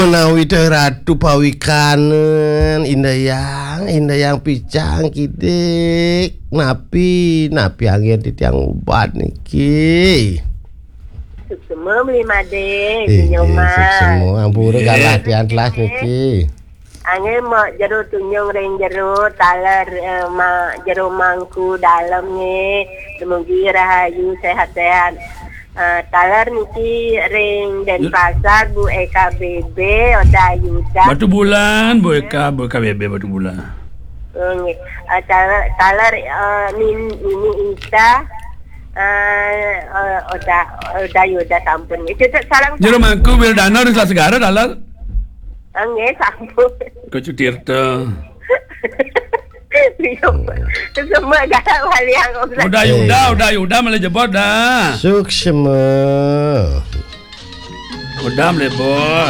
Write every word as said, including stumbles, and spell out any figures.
Menawi teh Ratu pawikanen, Indayang, Indayang picang kidik. Napi, napi anggen titiang ubat niki. Suksema beli Made, eh, Nyoman. Suksema, ampura galah tiang telas niki. Angin mok jero tunjung ring jero taler, eh, ma, jero mangku dalem nggih. Dumugi rahayu, sehat-sehat. Eh, taler niki ring Denpasar, Bu Eka B B, Oda Yuda. Batu Bulan, Bu Eka, Bu Eka B B Batu Bulan. Oh, nggih. Eh, taler, taler, eh, Nin-, Nini Ita, eh, eh, Oda, Oda Yuda sampun. Itu tak salah. Jero mangku Wildana ring Selat Segara, taler. Nggih, sampun. Kucu Tirta. Iya, Pak. Semua galak baliang, Om. Udah Yuda, eh, udah Yuda, malah jebot dah. Suksema. Udah, malih, Bos.